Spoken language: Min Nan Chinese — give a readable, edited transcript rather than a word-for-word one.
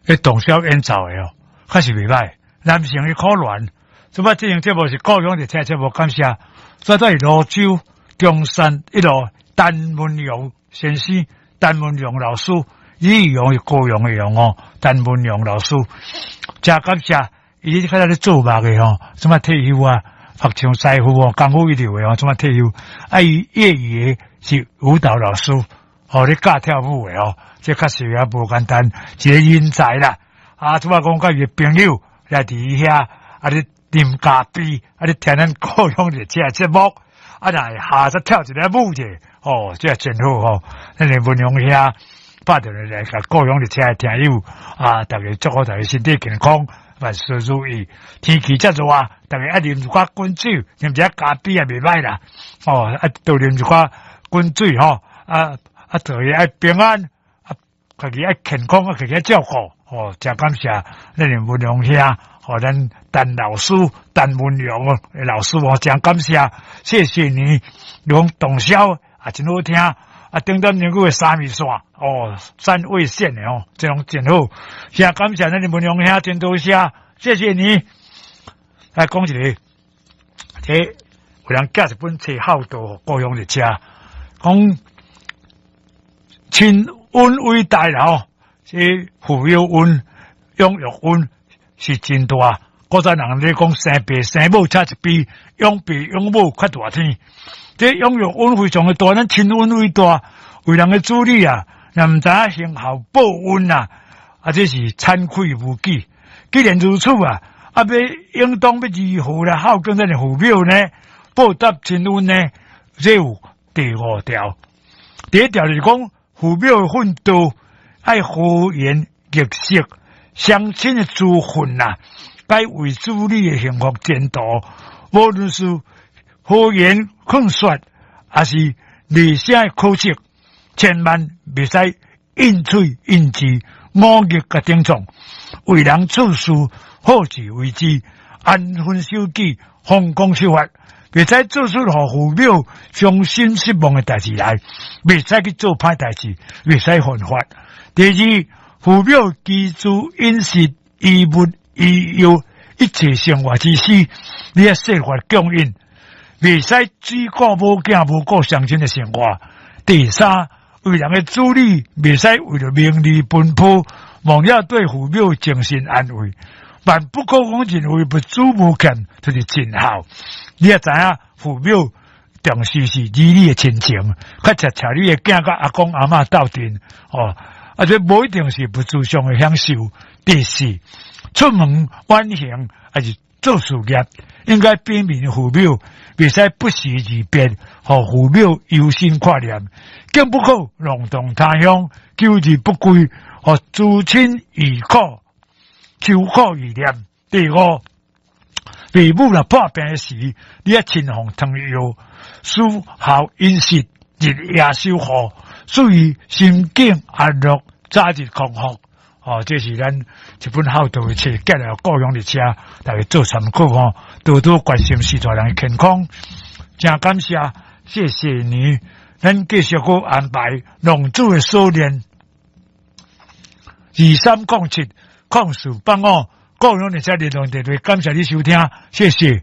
彼洞簫演奏的哦，確實袂䆀，男性的可憐。這擺這樣節目是故鄉熱車節目，感謝。這都是蘆洲中山一路陳文榮先生，陳文榮老師，李榮是高雄的榮哦，陳文榮老師，誠感謝，伊較早咧做木的吼，這擺退休啊，木匠師傅哦，功夫一流的哦，這擺退休，啊，伊業餘的是舞蹈老師，哦，咧教跳舞的哦，這確實也無簡單，一個人才啦。啊，這擺講佮伊的朋友來佇伊遐，啊咧啉咖啡，啊咧聽咱故鄉熱車節目，啊，若會下則跳一个舞者，哦，這真好吼。咱的文榮兄拍電話來共故鄉熱車的聽友，啊，逐家祝福逐家身體健康，萬事如意。天氣遮熱，逐家愛啉一寡滾水，啉一下咖啡也袂䆀啦。哦，啊，多啉一寡滾水吼，啊啊，做伊愛平安，啊，家己愛健康，啊，家己愛照顧。哦，誠感謝咱的文榮兄，予咱陳老師、陳文榮的老師哦，誠感謝，謝謝你，講洞簫也真好聽，啊，頂點兩句的三味線，哦，三味線的哦，這攏真好，誠感謝咱的文榮兄，真多謝，謝謝你。來講一個，這有人寄一本冊孝道，故鄉熱車，講親恩偉大啦吼。這撫養恩、養育恩是真大。古早人咧講生爸生母差一邊，養爸養母較大天。這養育恩非常的大，咱親恩偉大，為人的子女啊，若毋知影行孝報恩啊，啊，這是慚愧無己。既然如此啊，啊，欲應當欲如何來孝敬咱的父母呢？報答親恩呢？這有第五條。第一條就是講父母的訓導。愛和顏悅色，雙親的職份啊，該為子女的幸福前途，無論是和言勸說，抑是厲聲的呵斥，千萬袂使應喙應字，忤逆共頂撞。為人處事，好自為之，安分守己，奉公守法，袂使做出予父母傷心失望的代誌來，袂使去做歹代誌，袂使犯法。第二，父母居住飲食、衣物、醫藥，一切生活之需，你愛設法供應，袂使只顧某囝無顧雙親的生活。第三，為人的子女，袂使為著名利奔波，忘了對父母精神安慰。萬不可講認為物資無欠，就是盡孝。你也知影父母重視是兒女的親情，較切帶你的囝佮阿公阿嬤鬥陣哦。啊，這無一定是物質上的享受。第四，出門遠行抑是做事業，應該禀明父母，袂使不時而變，予父母憂心掛念，更不可浪蕩他鄉，久日不歸，予諸親憶苦，愁苦憶念。第五，父母若破病時，你愛親奉湯藥，使孝飲食，日夜守護，使伊心境安樂，早日康復。哦，這是咱一本孝道的冊，寄來故鄉熱車，大家做參考吼，多多關心序大人的健康。誠感謝，謝謝你。咱繼續閣安排浪子的鎖鏈，23070485，故鄉熱車聯絡電話，感謝你收聽，謝謝。